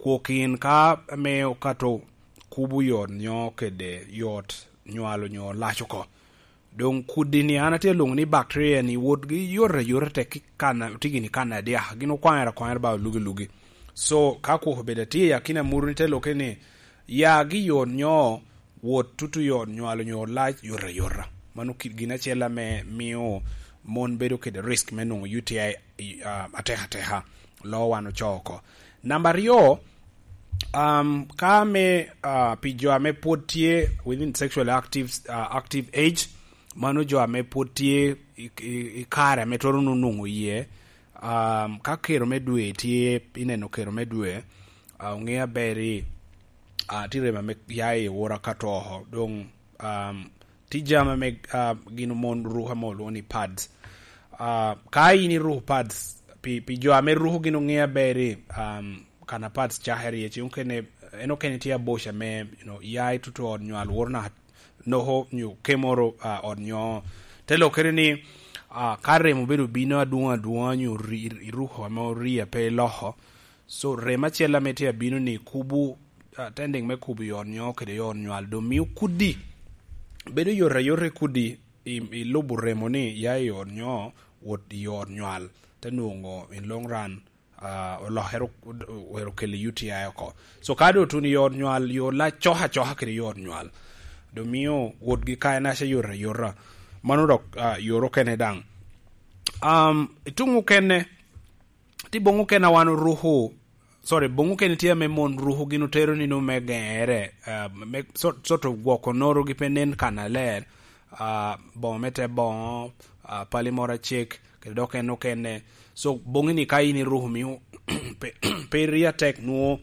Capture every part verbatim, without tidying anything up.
Gwok in ka ame okato kubo yot nyo kede yot nywalo nyo lac oko. Doŋ kudi ni an atye alwoŋo ni bacteria ni wotgi yot ayota tek ki kan, tye gini kan adyak, gin okwaŋere akwaŋera ba olugi lugi. So, ka kwok obedo atye i akina muru ni te lokke ni, ya gi yot nyo wot tutu yot nywalo nyo lac yot ayota. Mano ki-, gin acel ame mio mon bedo kede risk me nwoŋo U T I, ah, ateka ateka, loo wan ocoo oko. Namba aryo, um, ka ame, ah, pi jo ame pwod tye within sexually active, ah, active age, mano jo ame pwod tye i, i, i kare ame twero nwoŋo iye, um, ka kero me dwe tye, ineno kero me dwe, ah, oŋe aber ni, ah, tye remo ame ya i ora ka to oko. Doŋ, um, tye jami ame, ah, gin mon ruko ame olwoŋo ni pads. Ah, ka in iruko pads, pi, pi jo ame ruko gin oŋe aber ni, um, kana pads cakere iye, ce okene, en okene tye aboca ame, you know, ya i tutu ot nywal woro na noko nyo kemoro, ah, ot nyo. Te lokere ni, ah, ka remo bedo bino adwoŋ adwoŋa nyo ri-, iruko ame oria pe iloko, so, rem acel ame tye abino ni kubu, ah, tending me kubu i ot nyo kede i ot nywal, doŋ mio kudi bedo yot ayot i kudi i, i lubo remo ni ya i ot nyo wot i ot nywal, te nwoŋo in long run, ah, olokere, wero keli U T I oko. So, ka doŋ otuno i ot nywal, yo lac coka coka kede i ot nywal, doŋ mio wotgi kaenaca yot ayota. Mano dok, ah, yot okene daŋ. Um, i tuŋ okene, tye boŋo okene a wan oruko, sorry, boŋo okene tye ame mon ruko gin otero nino me geŋere, ah, me sort, sort of gwoko norogi pe nen kannaler, ah, boŋo me te boŋo, ah, pali moro acek, kede dok en okene. So, boŋi ni ka in iruko mio pe, pe iri atek nwoŋo,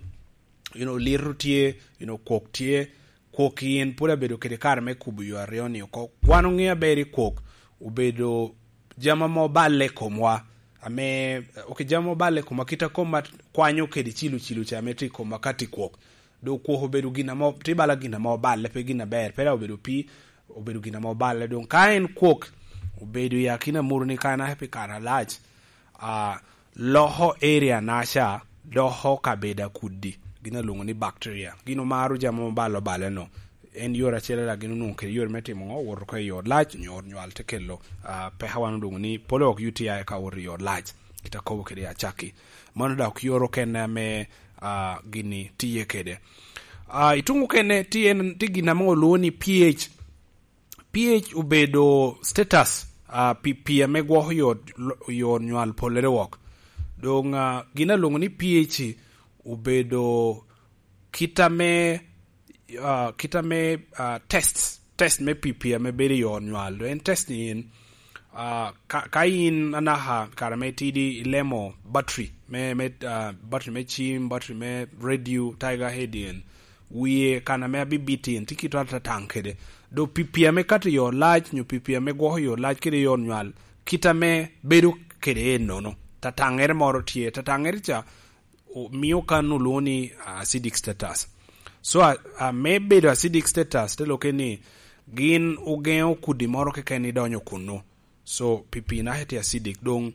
you know, lito tye, you know, kwok tye, kwok in pwod abedo kede kare me kubo yo aryo ni oko. Wan oŋe aber i kwok obedo jami ame oballe i komwa, ame, ok, jami ame oballe i komwa, kit a koma kwanyo kede cilo cilo ca ame tye i komwa ka tye kwok. Doŋ kwok obedo gin ame, tye bala gin ame oballe, pe gin aber, pe dok obedo pii, obedo gin ame oballe. Doŋ ka en kwok obedo i akina muru ni ka en aye pi kare alac, ah, loko area naca, doko kabedo akudi, gin alwoŋo ni bacteria. Gin omaro jami ame oballe oballe no. En yore acel a gin onwoŋo kede yore me timo ŋo? Woto oko i ot lac, nyo ot nywal te kelo, ah, peka wan olwoŋo ni polywok U T I ka owoto i ot lac, kit akobo kede acakki. Mano dok yore okene ame, ah, gini tiye kede. Ah, i tuŋ okene, tye en, tye gin ame olwoŋo ni P H. P H obedo status, ah, pi, pi ame gwoko yo, yo nywal polere wok. Doŋ, ah, gin alwoŋo ni P H obedo kit ame, ah, kit ame, ah, test, test me P P ame bedo i yo nywal. Doŋ en test ni en, ah, ka, ka in anaka kare ame tidi ilemo battery me, me, ah, battery me cim, battery me radio, Tiger Head en, wie kan ame abibit in, tye kit atataŋ kede. Doŋ P P ame kato i yo lac, nyo P P ame gwoko i yo lac kede i yo nywal, kit ame bedo kede en nono. Tataŋere moro tye, tataŋere ca, o-, mio kan olwoŋo ni acidic status. So, a, a, me bedo acidic status, te lokke ni gin ogeŋo kudi moro keken ni donyo kunnu. So, P P naka tye acidic. Doŋ,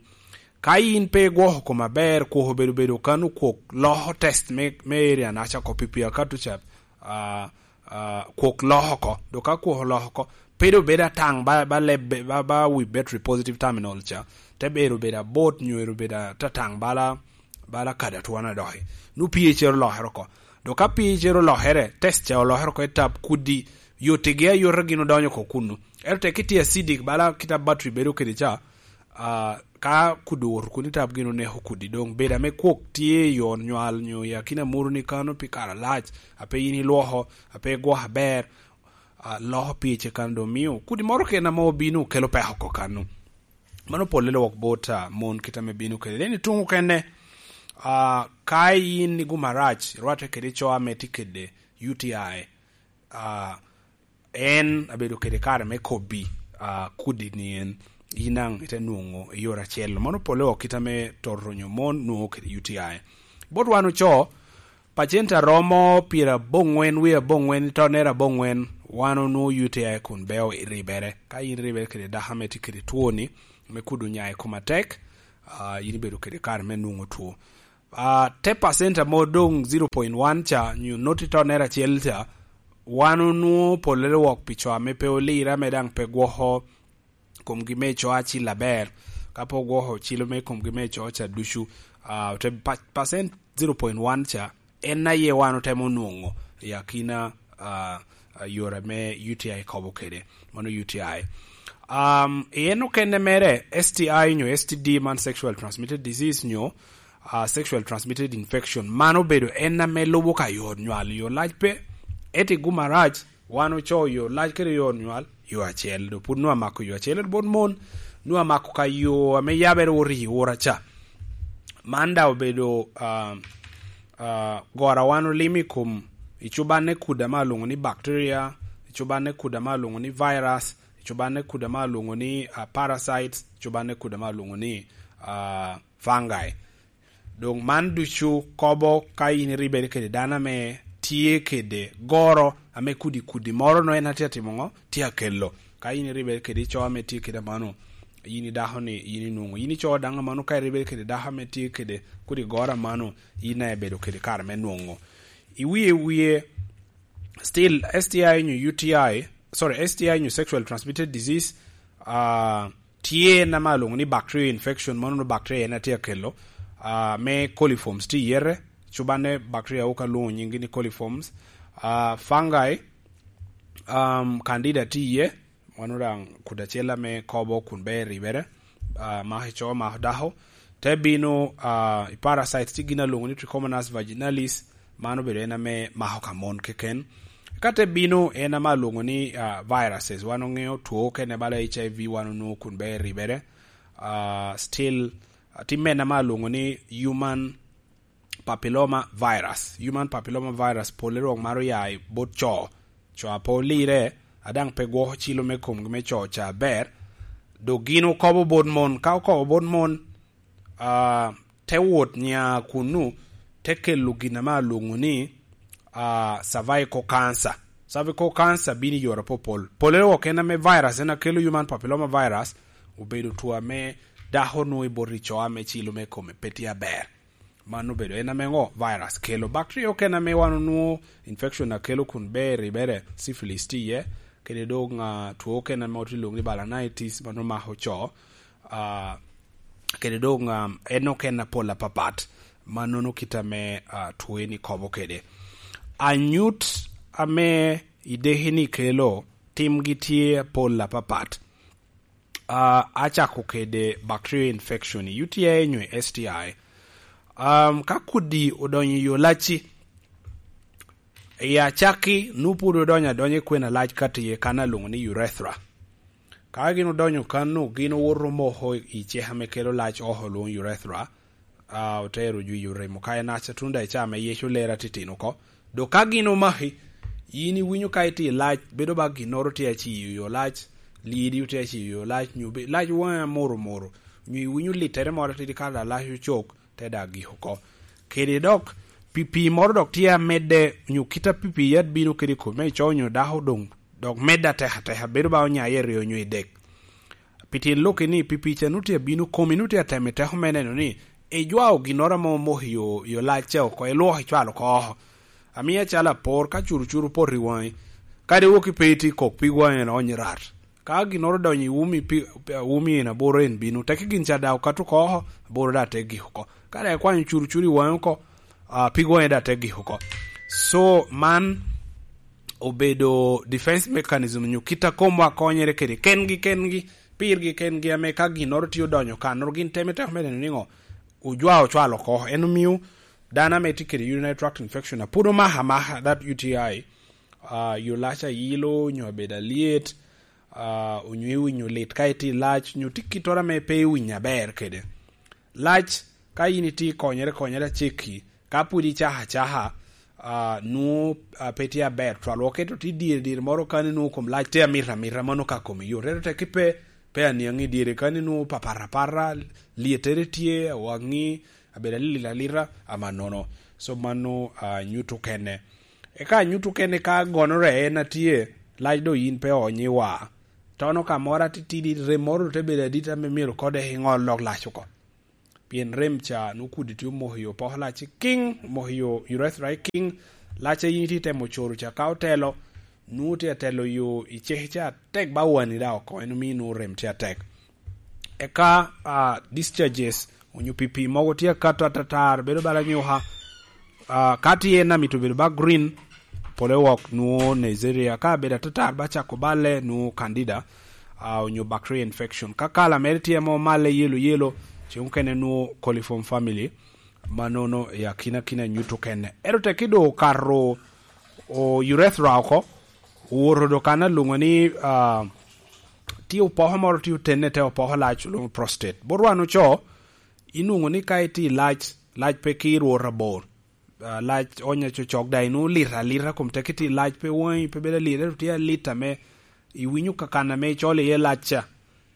ka in pe igwoko koma aber, kwok obedo bedo kan okwok loko test me, me area naca oko P P akato ca, a, a, kwok loko oko. Doŋ ka kwok oloko oko, pe doŋ bedo ataŋ ba, ba leb, ba, ba wi battery positive terminal ca, te bedo bedo abot nyo ero bedo atataŋ bala, bala kadi atwon adoki. Nu P H ero olokere oko. Doŋ ka P H ero olokere, test ca olokere oko i tap kudi, yotigi ayota gin odonyo oko kunnu. Ento tek itye acidic bala kit a battery bedo kede ca, ah, ka kudi owoto kun i tap gin oneko kudi, doŋ bedo ame kwok tye i yo nywal nyo i akina muru ni kano pi kare alac, a pe in ilwoko, a pe igwoko aber, ah, loko P H kan doŋ mio kudi moro keken ame obino kelo peko oko kanno. Mano polle lwok bot, ah, mon kit ame bino kede. Then i tuŋ okene, ah, ka in iguma rac, irwatte kede co ame tye kede U T I, ah, en abedo kede kare me kobbi, ah, kudi ni en, in daŋ ite nwoŋo i yore acel. Mano polle wok kit ame toto nyo mon nwoŋo kede U T I. Bot wan oco, pacent aromo pyeraboŋwen wie aboŋwen i tonnere aboŋwen, wan onwoŋo U T I kun beo i ribere. Ka in ribere kede dako ame tye kede twoni, me kudi onya i kom atek, ah, in ibedo kede kare me nwoŋo two. Ah, te pacent amo doŋ zero point one ca, nyo noti tonere acel ca, wan onwoŋo pollere wok pi co ame pe olire, ame daŋ pe gwoko komgi me co acil aber. Ka pe ogwoko cilo me komgi me co ca ducu, ah, te pa-, pacent zero point one ca, en aye wan otemo nwoŋo i akina, ah, ah, yore me U T I kobo kede. Mano U T I. Um, i en okene mere, S T I nyo S T D, man sexual transmitted disease nyo, ah, sexual transmitted infection, man obedo en ame lubo ka yor nywal, yor lac pe. Eti guma rac, wan ocoo yor lac kede yor nywal, yo acel. Do pud nwa mako yo acel bot mon, nwa mako ka yo ame yabere ori ora ca. Man da obedo, ah, ah, gora wan olimo i kom i cubanne kuda ma alwoŋo ni bacteria, i cubanne kuda ma alwoŋo ni virus, i cubanne kuda ma alwoŋo ni, ah, parasites, i cubanne kuda ma alwoŋo ni, ah, fungi. Doŋ man ducu kobo ka in iribere kede dano ame tye kede goro ame kudi kudi moro no en atye atimo ŋo? Tye akelo. Ka in iribere kede co ame tye kede amano, yin i dako ni yin inwoŋo. Yin ico daŋ amano ka iribere kede dako ame tye kede kodi goro amano, yin aye bedo kede kare me nwoŋo. I wie wie, still, S T I nyo U T I, sorry, S T I nyo sexual transmitted disease, ah, tye en ame alwoŋo ni bacterial infection, mano onwoŋo bacteria en atye akelo, ah, me coliforms tye iyete, cubanne bacteria wok alwoŋo nyingi ni coliforms, ah, fungi, um, candida tye iye, mano daŋ kuda acel ame kobo kun ber ribere, ah, mako i co, mako dako, te bino, ah, i parasites tye gin alwoŋo ni Trichomonas vaginalis, man obedo en ame mako ka mon keken. Ka te bino en ame alwoŋo ni, ah, viruses, wan oŋeo two okene bala H I V wan onwoŋo kun ber ribere. Ah, still, ah, tye mene ame alwoŋo ni human papilloma virus. Human papilloma virus pole rok maro ya i bot co. Co a pe olire, a daŋ pe gwoko cilo me komgi me co ca aber. Dok gin okobo bot mon. Ka okobo bot mon, ah, te wot nya kunnu, te kelo gin ame alwoŋo ni, ah, cervical cancer. Cervical cancer bino i yore apopol. Pole wok en ame virus en akelo, human papilloma virus, obedo two ame dako nwoŋo i bot i co ame cilo me kome pe tye aber. Man obedo en ame ŋo? Virus kelo. Bacteria okene ame wan onwoŋo infection akelo kun ber ribere, syphilis tye iye, kede doŋ, ah, two okene ame otye lwoŋo ni balanitis, mano mako co. Ah, kede doŋ, um, en okene apol apapat, mannono kit ame, ah, two eni kobo kede. Anyut ame ideki ni kelo, timgi tye apol apapat. Ah, acako kede bacterial infection i U T I nyo i S T I. Um, ka kudi odonyo i yo lacci, i acakki, nwoŋo pwod odonyo adonya i kwena lac ka tye kan alwoŋo ni urethra. Ka gin odonyo kan-nu, gin owoto omoko i cek ame kelo lac oko, lwoŋo urethra, ah, otero jwi oremo ka enac atunda i caa me yec olero atitino oko. Dok ka gin omaki, yin iwinyo ka itye i lac, bedo ba ginnoro tye aciyo yo lac, lyedi tye aciyo yo lac, nyo be-, lac waŋi amoro moro, nyo iwinyo littere moro atidi ka da lac ocok, te da gik oko. Kede dok, pipi moro dok tye amedde, nyo kit a pipi yat bino kede i kome, ico nyo dako doŋ, dok medde atek ateka, bedo ba onyaye i ryo nyo i dek. Pi tyen lok ni, pipi ca nut tye abino komi, nut tye atemo i teko me neno ni ijwao ginnoro ame omoko i yo, yo lacce oko, ilwoko icwalo oko oko. Amiya calo apor, ka curucuru opoto i waŋi, kadi wok ipe itye kok pig waŋi en onyo rat. Ka ginnoro odonyo i umi, pi-, umi en aboro en bino, teke gin ca daŋ okato oko oko, aboro daŋ te gik oko. Ka daŋ ikwanyo curucuru i waŋi oko, ah, pig waŋi daŋ te gik oko. So, man obedo defense mechanism nyo kit a komwa konyere kede kengi kengi, pirgi kengi, ame ka ginnoro tye odonyo kanoro, gin teme teko me neno niŋo, ojwa ocwalo oko. En omio dano ame tye kede urinary tract infection, a pwod omako amaka that U T I, ah, yo lac ayilo, nyo abedo alyet, ah, onyo iwinyo lit ka itye i lac, nyo tye kittoro ame pe iwinyo aber kede. Lac, ka in itye konyere, konyere acekki, ka pwod icako acaka, ah, nwoŋo, ah, pe tye aber twal. Wok ento tye dyere dyere moro kani nwoŋo kom lac tye amito amita, mano ka komi yot. Ento tek pe, pe aniaŋ i dyere kani nwoŋo papat apata, lyettere tye, awaŋi, abedo alil alita, amannono. So mano, ah, nyuto kene. Eka anyuto kene ka gonore en atye, lac do yin pe onyo i wa. Tono ka moro atitidi, rem moro te bedo adit ame myero kode iŋol lok lac oko. Pien rem ca nwoŋo kudi tye omoko yo poko lac i kiŋ, omoko yo urethra i kiŋ, lac a yin itye temo coro ca ka otelo, nwoŋo tye atelo yo i ceke ca atek ba wani daŋ oko, en omio nwoŋo rem tye atek. Eka, ah, discharges, onyo pipi mogo tye akato atatar, bedo bala nyuka, ah, ka tye en amito bedo ba green, pole wok nwoŋo Neisseria, ka bedo atatar ba cako balle nwoŋo candida, ah, onyo bacteria infection. Ka kala mere tye mo malle yelo yelo, ce mukene nwoŋo coliform family, manono i akina akina nyuto kene. Ento tek ido okato o urethra oko, owoto do kan alwoŋo ni, ah, tye opoko moro tye otenne te opoko lac olwoŋo prostate. Bot wan oco, inwoŋo ni ka itye i lac, lac pe ki rwot abor. Ah, lac onya cocok daŋ inwoŋo lit alita, kom tek itye i lac pe waŋi pe bedo alit, ento tye alit ame iwinyo kakan ame icolo iye lac ca,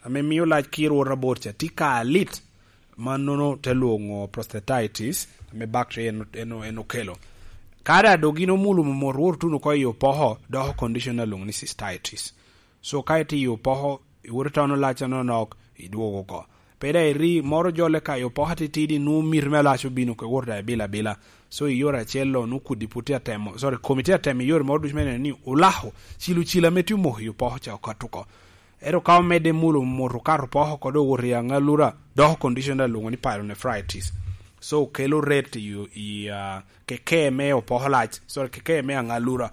ame mio lac ki rwot abor ca, tye ka alit, mannono te lwoŋo prostatitis, ame bacteria en, en, en okelo. Ka daŋ dok gin omulo momot, wot otuno oko i opoko, doko condition alwoŋo ni cystitis. So ka itye i opoko, iwoto itono lac anonok, idwogo oko. Pe daŋ iri moro jole ka i opoko atitidi, nwoŋo miti me lac obino, ke wot daŋ ibilo abila. So i yore acel lo, nwoŋo kudi pwod tye atemo, sorry, komi tye atemo i yore moro ducu me neno ni olako cilo cilo ame tye omoko i opoko ca okato oko. Ento ka omedde mulo mot okato opoko oko, dok owoto i aŋalura, doko condition daŋ lwoŋo ni pyelonephritis. So kelo ret i, i, ah, keke me opoko lac, sorry, keke me aŋalura.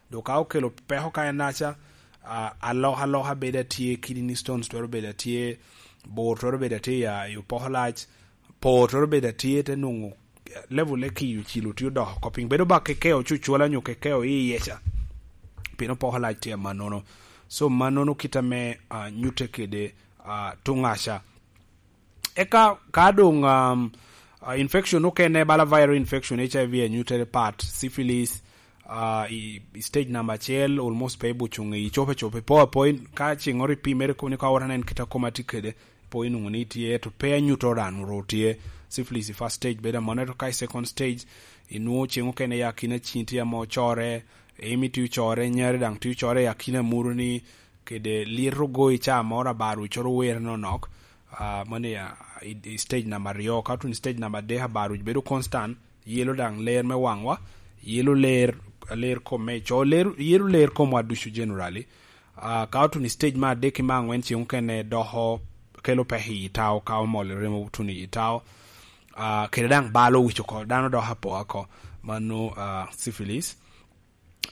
Dok ka okelo peko ka en aca, ah, alokaloka bedo atye, kidney stones twero bedo atye, bor twero bedo atye i, ah, i opoko lac, po twero bedo atye, te nwoŋo level e kiyo cilo tye odoko oko piny. Bedo ba kekeo cucula nyo kekeo i iye ca. Pien opoko lac tye amannono. So, mannono kit ame, ah, nyutte kede, ah, tuŋaca. Eka ka doŋ, um, ah, infection okene, bala viral infection, H I V anyutte pat, syphilis, ah, i, i stage number acel, almost pe ibuco ŋe, icope cope, po apo in, ka ceŋ oro ipimere koni ka oro anen kit a koma tye kede, po inwoŋo ni tye, to pe anyuto ran oro tye. Syphilis i first stage bedo amono, ento ka i second stage, inwoŋo ceŋ okene ya kina cin tye amo core, emi tye ocore, nyari daŋ tye ocore ya kina muru ni, kede lyeto goyi ca moro abar wi coro were nonok, ah, mano ya, i, i stage number aryo, ka otun i stage number adek abar wi bedo constant, yelo daŋ ler me waŋwa, yelo ler, ler kom me co, ler, yelo ler komwa ducu generally. Ah, ka otun i stage me adek ki me aŋwen ceŋ okene doko kelo pek i tao, ka omol remo otun i tao. Ah, kede daŋ balo wic oko, dano doko apoa oko, mano, ah, syphilis.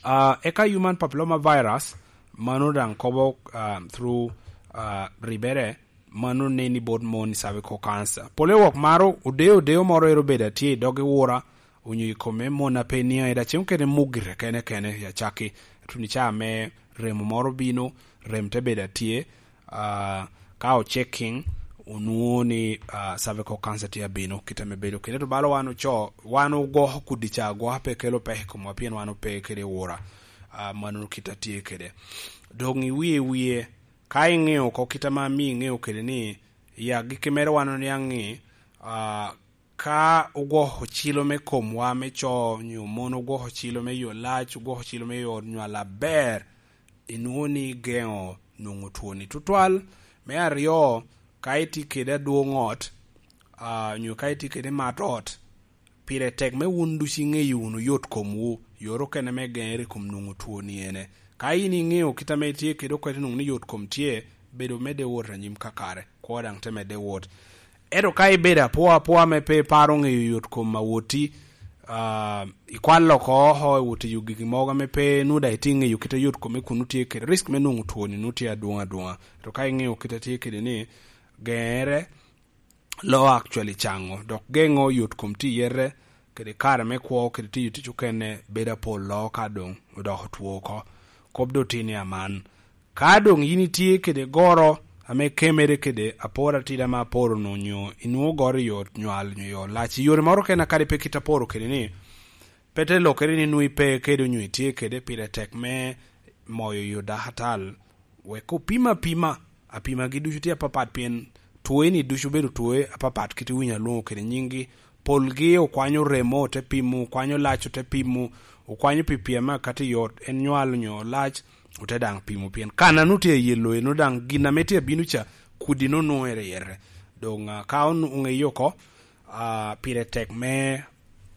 Ah, eka human papilloma virus, mano daŋ kobo, ah, through, ah, ribere, mano neni bot mon i cervical cancer. Pole wok maro odeo odeo moro ero bedo atye i dog i wura, onyo i kome mon a pe niaŋ i dacem kene mugire kene kene i acakki. Tuni ca me remo moro bino, rem te bedo atye, ah, ka o checking, onwoŋo ni, ah, cervical cancer tye abino, kit ame bedo kede. To balo wan oco, wan ogwoko kudi ca agwoka pe kelo pek i komwa, pien wan ope kede wura, ah, mano kit a tye kede. Doŋ i wie wie, ka iŋeo oko kit ame amio iŋeo kede ni, i agikki mere wan oniaŋ ni, ah, ka ogwoko cilo me komwa me co, nyo mon ogwoko cilo me yo lac, ogwoko cilo me yo nywal aber, inwoŋo ni igeŋo nwoŋo twoni tutwal. Me aryo, ka itye kede adwoŋ ot, ah, nyo ka itye kede mat ot, pire tek me wun ducu iŋeyo wunu yot komwu, yore okene me geŋere i kom nwoŋo twoni ene. Ka in iŋeo kit ame itye kede okwete nwoŋo ni yot kom tye, bedo medde wot anyim kakare, kwo daŋ te medde wot. Ento ka ibedo apoa apoa ame pe iparo ŋeyo yot kom a woti, ah, ikwalo oko oko, iwot tiyo gigi mogo ame pe nwoŋo daŋ itye ŋeyo kit a yot kome kun nwoŋo tye kede risk me nwoŋo twoni nwoŋo tye adwoŋ adwoŋa. To ka iŋeyo kit a tye kede ni, geŋere lo actually caŋo, dok geŋo yot kom tiyere, kede kare me kwo, kede tiyo tic okene, bedo apol lo ka doŋ odoko two oko. Kop doŋ tye ni aman. Ka doŋ yin itye kede goro ame kemere kede apor atida ma aporo-nu, nyo inwoŋo goro i yo nywal nyo yo lac, i yore moro kena kadi pe kit aporo kede ni, pe te lokere ni nwoŋo ipe kede onyo itye kede, pire tek me moyo yo dakatal, wek opim apima. Apimagi ducu tye apapat, pien twoeni ducu bedo twoe apapat, kit iwinyo alwoŋo kede nyinggi. Polgi okwanyo remo, ote pimo, okwanyo lac, ote pimo, okwanyo pi pyem akati yot, en nywal onyo lac, ote daŋ pimo, pien kan a nwoŋo tye i yelo eno daŋ gin ame tye abino ca, kudi nwoŋo nwoŋere yere. Doŋ, ah, ka on-, oŋeyo oko, Ah, pire tek me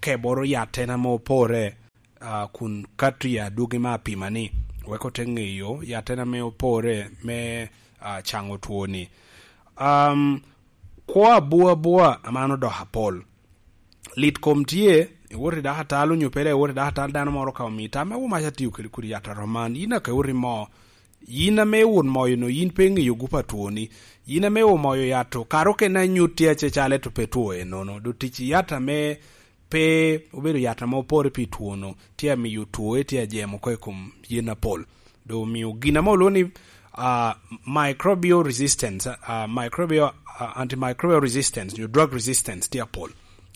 keboro yatten ame opore, ah, kun kato i adwogi me apima ni, wek ote ŋeyo yatten ame opore me, ah, caŋo twoni. Am, kwo abua abua aman odoko apol. Lit kom tye, iwot i dakatal onyo pe dok iwot i dakatal, dano moro ka omii tam, me wo mac atiyo kede kodi yat aroman, yin aka iwot imo. Yin ame iwot moyo no, yin pe iŋeyo gup a twoni. Yin ame omoyo yat-tu, kara okene anyut tye acecale to pe two enono. Doŋ tic i yat ame pe obedo yat ame opore pi two-nu, tye amiyo two tye ajemo oko i kom yen apol. Doŋ omio gin ame olwoŋo ni, ah, microbial resistance, ah, microbial, ah, antimicrobial resistance, nyo drug resistance tye apol.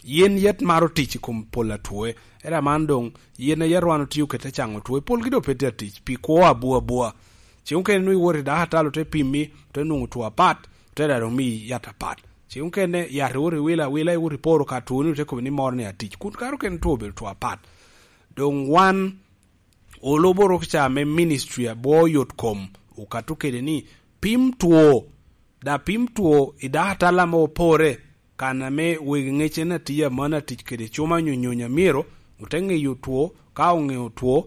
Yen yat maro tic i kom pol a two, ento aman doŋ yen a yat wan otio kede te caŋo two, polgi doŋ pe tye atic, pi kwo abua abua. Ceŋ okene nwoŋo iwot i dakatal ote pimi, ote nwoŋo two apat, ote daŋ omiyi yat apat. Ceŋ okene yat iwot iwilo awila, iwot iporo ka twoni, ote kobo ni moro ni atic. Kun kare okene two obedo two apat. Doŋ wan olubo rok ca me ministry a bwo yot kom, okato kede ni pim two, da pim two i dakatal ame opore, kan ame wegi ŋecen atiya mano atic kede cuma nyo nyonya myero ote ŋeyo two, ka oŋeo two,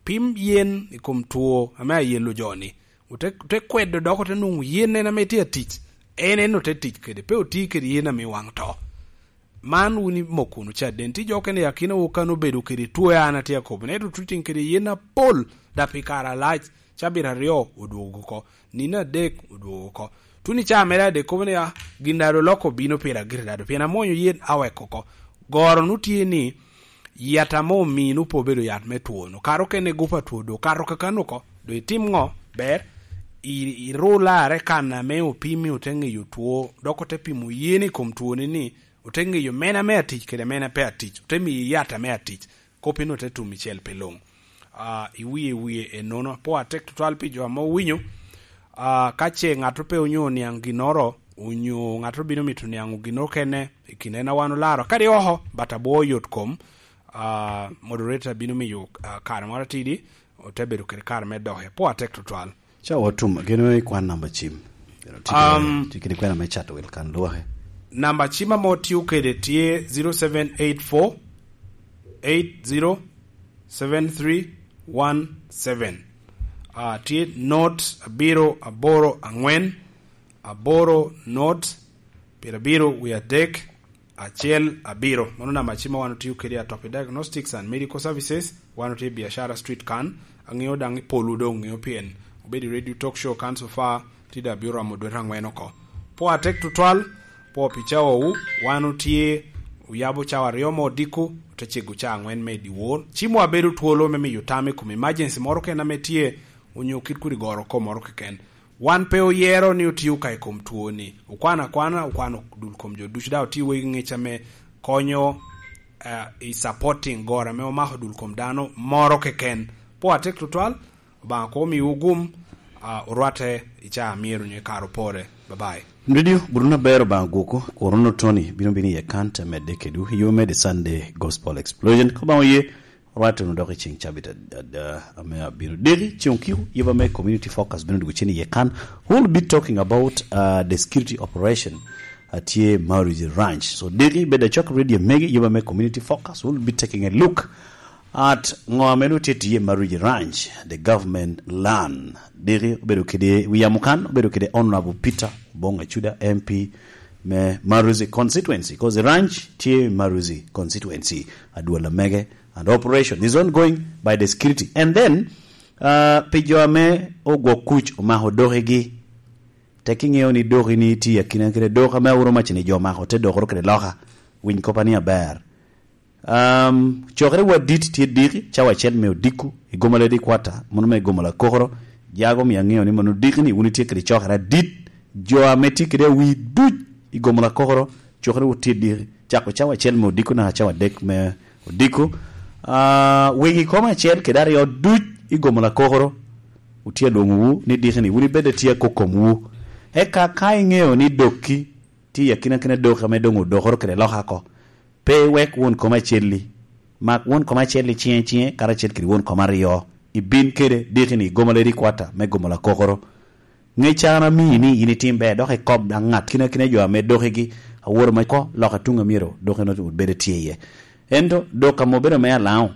pim yen i kom two ame ayelo jo-ni. Ote, ote kwedo dok ote nwoŋo yen en ame tye atic, en en ote tic kede, pe oti kede yen ame waŋ to. Man wun imoko wunu caden. Tye jo okene i akinawu kan obedo kede two an atye akobo, ento tuting kede yen apol, da pi kare alac, cabit aryo odwogo oko, nino adek odwogo oko. Tuno i caa mere adek kobo ni, "Ah, gin daŋ oloko obino pira gire daŋ, pien amwonyo yen aweko oko." Goro nu tye ni, yat ame omino pe obedo yat me two-nu. Kara okene gup a two doŋ okato kakano oko, doŋ itim ŋo? Ber, i-, iru larre kan ame opimi ote ŋeyo two, dok ote pimo yen i kom twoni ni, ote ŋeyo mene ame atic kede mene pe atic, ote miyi yat ame atic, kop eno te tum icel pi luŋ. Ah, iwie wie enono. Apwo atek tutwal pi jo ame owinyo. Ah, ka ce ŋat pe onyo oniaŋ ginnoro, onyo ŋat obino mito niaŋo ginnoro kene i kin en a wan olaro, kadi oko, but abwo yot kom, ah, moderator bino miyo, ah, kare moro atidi, ote bedo kede kare me doke. Apwo atek tutwal. Ca otum, gin i kwan namba cim. Pero tye kede, Um, tye kede kwena me cato wil kan lwake. Namba cim ame otio kede tye zero seven eight four eight zero seven three one seven. Ah, tye not abiro aboro aŋwen, aboro not, pyerabiro wie adek, acel abiro. Mano namba cim ma wan otio kede i Atopi Diagnostics and Medical Services. Wan otye i Biashara Street kan. Aŋeo daŋ i polwu doŋ ŋeo pien obedo i radio talk show kan so far, tye daŋ bino romo dwete aŋwen oko. Pwo atek tutwal, pwo pi cawawu, wan otye oyabo cawa aryo me odiko, ote cego cawa aŋwen me i dyewor. Cimwa bedo twolo me miyo tam i kom emergency moro keken ame tye, onyo kit kodi goro kom moro keken. Wan pe oyero ni otio ka i kom twoni. Okwano akwana, okwano dul kom jo ducu, daŋ otio wegi ŋec ame konyo, eh, i supporting goro ame omako dul kom dano moro keken. Pwo atek tutwal, Obaŋa koŋ omiwu gum, ah, orwatte i caa a myero onyo i kare opore. Bye bye. Radio, Bruno aber, Obaŋa gwoko, Korono Tony, bino bino iye kan, te medde kedwu, yo me the Sunday Gospel Explosion. Ka Obaŋa oye, Orwatte wunu dok i ceŋ cabit ad-, ad-, ame abino deki, ceŋ okiko, yub ame Community Focus bino dwogo cen iye kan. We'll be talking about, uh, the security operation, uh, tye Maruzi Ranch. So, deki bed acok radio megi, yub ame Community Focus, we'll be taking a look at ŋo ame nwoŋo tye tiye Maruzi Ranch, the government land. Deki obedo kede, wi yamo kan, obedo kede Honorable Peter Bonga Chuda, M P me Maruzi constituency, 'cause the ranch tye Maruzi constituency. Adwola mege and operation is ongoing by the security. And then, uh, pi jo ame ogwok kuc omako dokegi, tek iŋeo ni doki ni tye akina kede dok ame awuro mac ni jo omako te dokoro kede loka. Winy kopa ni aber. Um, cokere wa dit tye diki, cawa acel me odiko, i Gomala Headquarter, mono me Gomala Kokoro, jago mi aŋeo ni mono diki ni wun itye kede cokere adit, jo ame tye kede awi duc i Gomala Kokoro, cokere wun tye diki, cako cawa acel me odiko naka cawa adek me odiko. Ah, wegi kom acel kede aryo duc i Gomala Kokoro, wutye alwoŋowu ni diki ni, wun ibed atye akokomwu. Eka ka iŋeo ni dokki, tye i akina kina dok ame doŋ odokoro kede loka oko. Pe iwek won kom acel-li. Mak won kom acel-li ciŋe ciŋe, karacel kede won kom aryo. Ibin kede diki ni i Gomala Headquarter me Gomala Kokoro. Ŋec an amii ni in itim ber, dok ikob daŋ ŋat kina kina jo ame dokigi awoto ma ko loka tuŋ a myero dok en obedo tye iye. Ento dok ame obedo me Alaŋo,